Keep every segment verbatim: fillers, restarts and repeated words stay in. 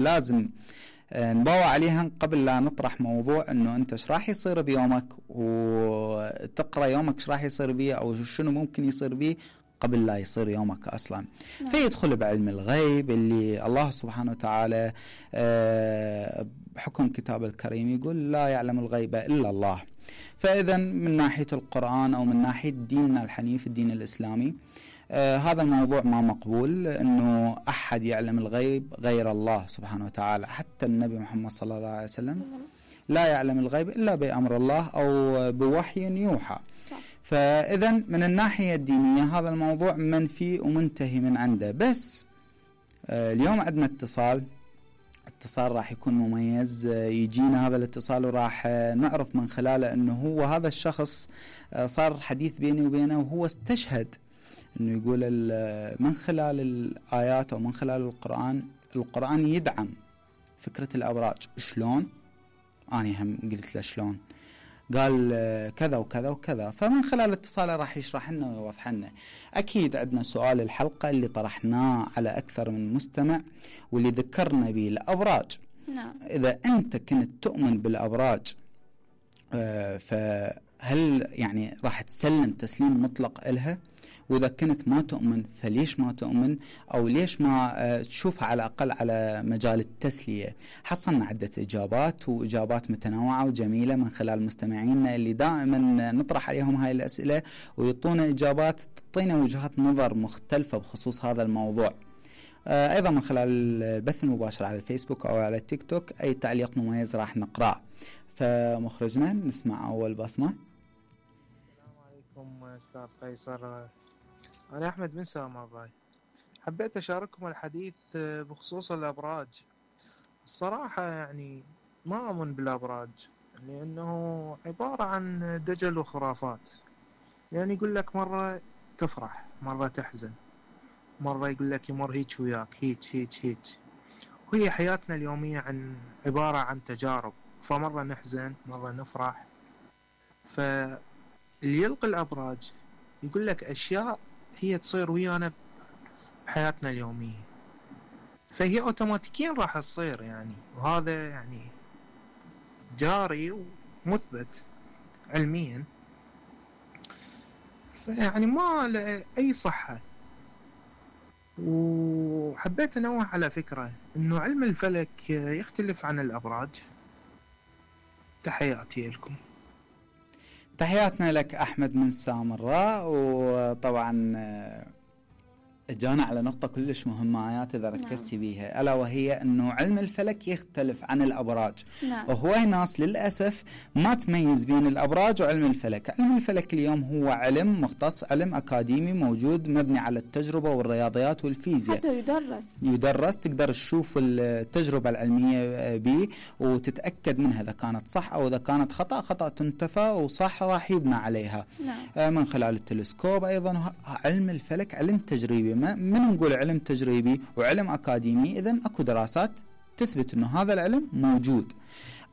لازم نبوع عليها قبل لا نطرح موضوع انه انت ايش راح يصير بيومك، وتقرأ يومك ايش راح يصير بيه او شنو ممكن يصير بيه قبل لا يصير يومك أصلا. نعم. فيدخل بعلم الغيب اللي الله سبحانه وتعالى بحكم كتاب الكريم يقول لا يعلم الغيب إلا الله. فإذا من ناحية القرآن أو من ناحية ديننا الحنيف الدين الإسلامي آه هذا الموضوع ما مقبول، أنه أحد يعلم الغيب غير الله سبحانه وتعالى. حتى النبي محمد صلى الله عليه وسلم لا يعلم الغيب إلا بأمر الله أو بوحي يوحى. فإذا من الناحية الدينية هذا الموضوع منفي ومنتهي من عنده. بس آه اليوم عندنا اتصال اتصال راح يكون مميز، آه يجينا هذا الاتصال وراح آه نعرف من خلاله أنه هو هذا الشخص آه صار حديث بيني وبينه، وهو استشهد أنه يقول من خلال الآيات أو من خلال القرآن القرآن يدعم فكرة الأبراج. شلون؟ أنا هم قلت له شلون؟ قال كذا وكذا وكذا. فمن خلال اتصاله راح يشرح لنا ويوضح لنا. أكيد عندنا سؤال الحلقة اللي طرحناه على أكثر من مستمع واللي ذكرنا به الأبراج. نعم. إذا أنت كنت تؤمن بالأبراج فهل يعني راح تسلم تسليم مطلق إلها؟ وإذا كنت ما تؤمن فليش ما تؤمن، أو ليش ما تشوفها على الأقل على مجال التسلية؟ حصلنا عدة إجابات وإجابات متنوعة وجميلة من خلال مستمعينا اللي دائما نطرح عليهم هاي الأسئلة ويعطونا إجابات تعطينا وجهات نظر مختلفة بخصوص هذا الموضوع. أيضا من خلال البث المباشر على الفيسبوك أو على التيك توك أي تعليق مميز راح نقرأ. فمخرجنا نسمع أول بصمة. السلام عليكم أستاذ قيصر، أنا أحمد من سامراء. حبيت أشارككم الحديث بخصوص الأبراج. الصراحة يعني ما أؤمن بالأبراج لأنه عبارة عن دجل وخرافات. يعني يقول لك مرة تفرح مرة تحزن، مرة يقول لك يمر هيك وياك هيك هيك هيك. وهي حياتنا اليومية عن عبارة عن تجارب، فمرة نحزن مرة نفرح. فاللي يلقي الأبراج يقول لك أشياء هي تصير ويانا بحياتنا اليومية، فهي أوتوماتيكيا راح تصير يعني، وهذا يعني جاري ومثبت علميا. فيعني ما له أي صحة. وحبيت أنوه على فكرة أنه علم الفلك يختلف عن الأبراج. تحياتي لكم. تحياتنا لك أحمد من سامراء. وطبعا جانا على نقطة كلش مهمة آيات إذا ركزتي نعم. بيها، ألا وهي أنه علم الفلك يختلف عن الأبراج. نعم. وهو ناس للأسف ما تميز بين الأبراج وعلم الفلك. علم الفلك اليوم هو علم مختص، علم أكاديمي موجود مبني على التجربة والرياضيات والفيزياء. حتى يدرس يدرس تقدر تشوف التجربة العلمية به وتتأكد منها إذا كانت صح أو إذا كانت خطأ. خطأ تنتفى وصح راح يبنى عليها. نعم. من خلال التلسكوب. أيضا علم الفلك علم تجريبي. من نقول علم تجريبي وعلم أكاديمي، إذن أكو دراسات تثبت أنه هذا العلم موجود.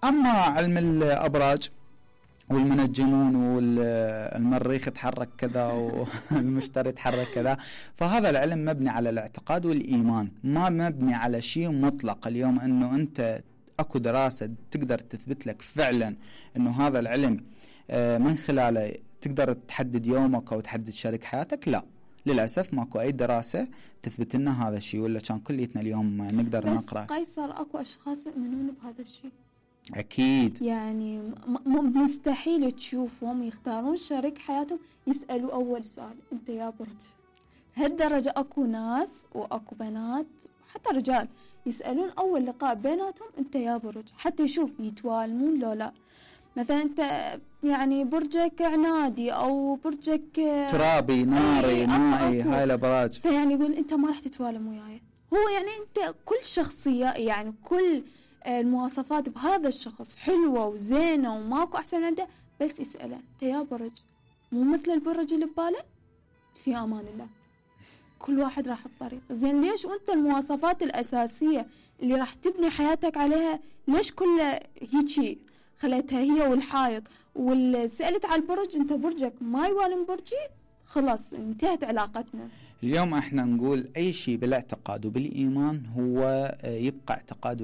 أما علم الأبراج والمنجمون والمريخ يتحرك كذا والمشتري يتحرك كذا، فهذا العلم مبني على الاعتقاد والإيمان، ما مبني على شيء مطلق. اليوم أنه أنت أكو دراسة تقدر تثبت لك فعلا أنه هذا العلم من خلاله تقدر تحدد يومك أو تحدد شريك حياتك، لا للأسف ماكو أي دراسة تثبت لنا هذا الشيء، ولا كان كليتنا اليوم نقدر بس نقرأ. بس قيصر أكو أشخاص يؤمنون بهذا الشيء. أكيد. يعني م- مستحيل تشوفهم يختارون شريك حياتهم يسألوا أول سؤال أنت يا برج. هالدرجة أكو ناس وأكو بنات حتى رجال يسألون أول لقاء بيناتهم أنت يا برج، حتى يشوف يتوالمون لو لا. مثلا أنت يعني برجك عنادي أو برجك ترابي ناري مائي، هاي الأبراج. فيعني يقول أنت ما راح تتوالم وياي. هو يعني أنت كل شخصية يعني كل المواصفات بهذا الشخص حلوة وزينة وماكو أحسن عنده، بس يسأله أنت يا برج مو مثل البرج اللي بباله. في أمان الله كل واحد راح بطريق زين. ليش وأنت المواصفات الأساسية اللي راح تبني حياتك عليها ليش كلها هيجي خليتها هي والحائط؟ والسألت على البرج أنت برجك ما يوالم برجي، خلاص انتهت علاقتنا. اليوم احنا نقول أي شيء بالاعتقاد وبالإيمان هو يبقى اعتقاد